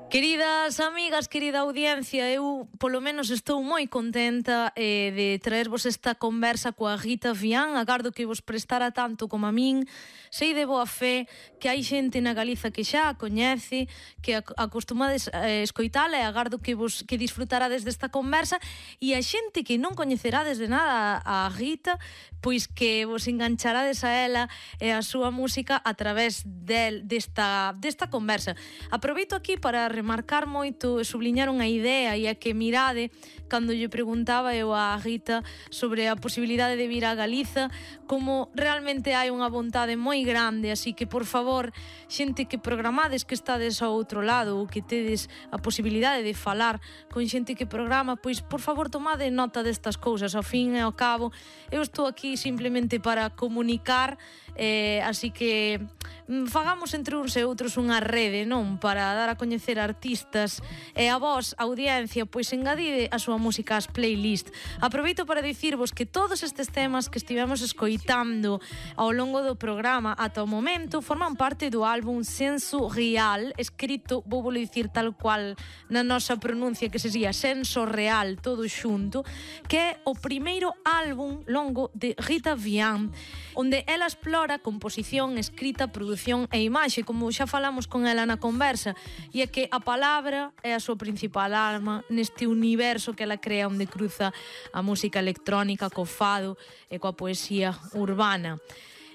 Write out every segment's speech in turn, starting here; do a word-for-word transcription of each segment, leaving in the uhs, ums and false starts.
Queridas amigas, querida audiencia, eu polo menos estou moi contenta eh, de traervos esta conversa coa Rita Vián. Agardo que vos prestara tanto como a min. Sei de boa fe que hai xente na Galiza que xa a coñece, que acostumades a escoitala, e agardo que vos que disfrutarades desta conversa, e a xente que non coñecerades de nada a Rita, pois que vos engancharades a ela e a súa música a través del, desta, desta conversa. Aproveito aquí para remarcar moito e subliñar unha idea, e a que mirade cando lle preguntaba eu a Rita sobre a posibilidade de vir a Galiza, como realmente hai unha vontade moi grande, así que por favor, xente que programades que estades ao outro lado ou que tedes a posibilidade de falar con xente que programa, pois por favor tomade nota destas cousas. Ao fin e ao cabo eu estou aquí simplemente para comunicar, eh, así que fagamos entre uns e outros unha rede, non? Para dar a coñecer artistas, e a vos, audiencia, pois engadide a súa música ás playlist. Aproveito para dicirvos que todos estes temas que estivemos escoitando ao longo do programa ata o momento forman parte do álbum Senso Real, escrito, vou vos dicir tal cual na nosa pronuncia, que se día Senso Real, todo xunto, que é o primeiro álbum longo de Rita Vián, onde ela explora composición, escrita, produción e imaxe, como xa falamos con ela na conversa, e é que a palabra é a súa principal arma neste universo que ela crea, onde cruza a música electrónica co fado e coa poesía urbana.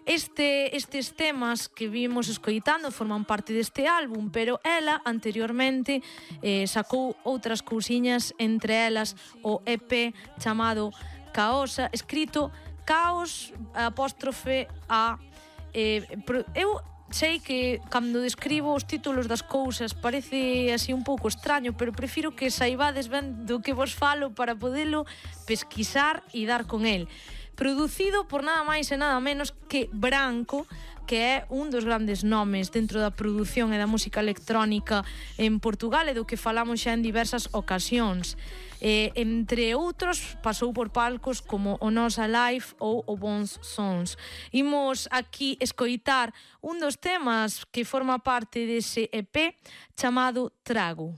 Este, estes temas que vimos escoitando forman parte deste álbum, pero ela anteriormente eh, sacou outras cousiñas, entre elas o E P chamado Caosa, escrito Caos apóstrofe A. Eh, eu sei que cando describo os títulos das cousas parece así un pouco extraño, pero prefiro que saibades ben do que vos falo para podelo pesquisar e dar con el. Producido por nada máis e nada menos que Branco, que é un dos grandes nomes dentro da produción e da música electrónica en Portugal, e do que falamos xa en diversas ocasións. Eh, entre outros, pasou por palcos como o Nos Alive ou o Bons Sons. Imos aquí escoitar un dos temas que forma parte dese E P chamado Trago.